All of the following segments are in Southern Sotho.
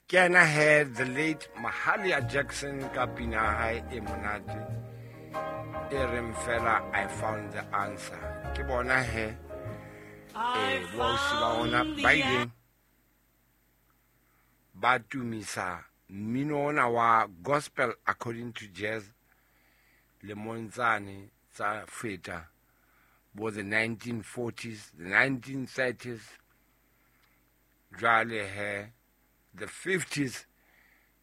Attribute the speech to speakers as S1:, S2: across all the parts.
S1: Ke yena he, the late Mahalia Jackson, ka pina ya hae e monate e reng fela "I Found the Answer". Ke bona he boausi ba rona ba ileng ba tumisa mmino ona wa gospel according to jazz lemong tsane tsa feta bo the 1940s, the 1930s, jwale he the 50s.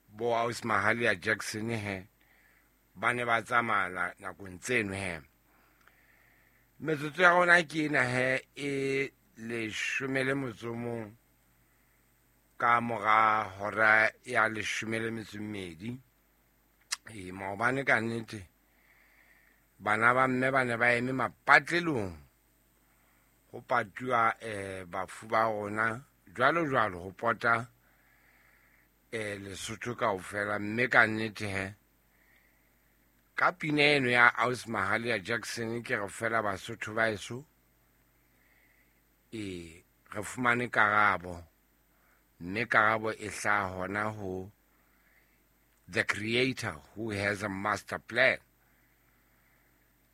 S1: Bo aus Mahalia Jackson he ba ne ba tsamaya nakong tseno he. Metsotso ya rona ke ena he e 11 ka mora hora ya 12. E maobane ka nnete bana ba mme ba ne ba eme mapatlelong ho patuwa bafu ba rona jwalo jwalo ho pota Lesotho kaofela. Mme ka nnete he ka pina eno ya aus Mahalia Jackson ke re fela Basotho ba eso re fumane karabo, mme karabo e hlaha hona ho the Creator who has a master plan.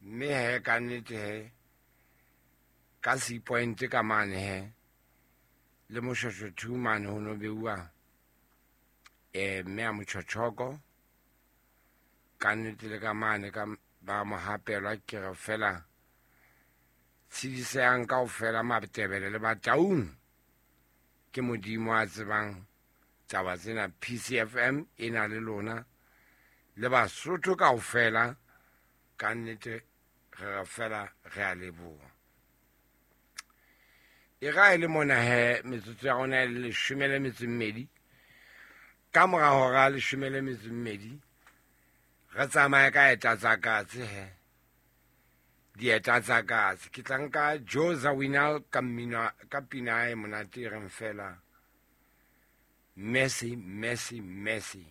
S1: Mme he ka nnete he ka Sea Point ka mane he le Moshweshwe 2 mane ho no beuwa mme a Motjhotjhoko. Ka nnete le ka mane ka ba mohapelwa ke re fela tshedisehang kaofela Matebele le Bataung. Ke Modimo a tsebang taba tsena. PCFM e na le lona le Basotho kaofela. Ka nnete re re fela re a leboha. E ra e le mona he metsotso ya rona e le 12 ka mora hora 12. Re tsamaye ka eta tsa katse he, dieta tsa katse. Ke tla nka Joe Zawinul ka mmino ka pina e monate e reng fela "Mercy, Mercy, Mercy".